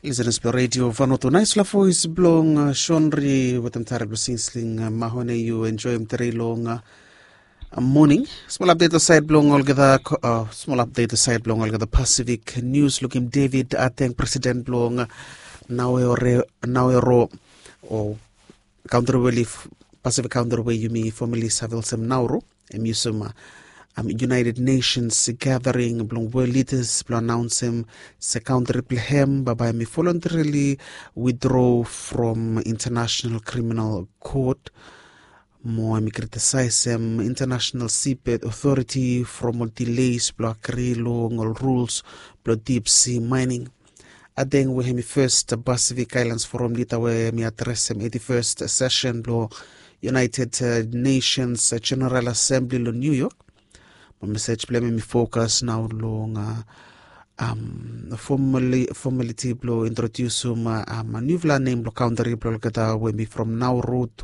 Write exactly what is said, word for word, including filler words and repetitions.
Lisenas blong redio vanotu naispela voes blong shonri wetem tare blong sinsling mahone yu enjoim tere long moning. Smol apdet long sait blong olgeta smol apdet long sait blong olgeta pasifik nius lukim david ateng presiden blong naoero o kauntriweli pasifik kauntriweli yumi fomili save olsem nauru em yusum united nations gathering blong wol lidas blong anaunsim se kauntri blong hem baba em i volontarili withdraw from international criminal court. Mo em i kritisaisem international seabed authority from ol delays blong agri long ol rules blong deep sea mining. Adeng we em i first pacific islands forum lida we em i adresem eighty first session blong united nations general assembly long new york. Ma mesej blong em i fokas nao long fomaliti blong introdiusim niufala nem blong kauntri blong olgeta we em i from nauru tu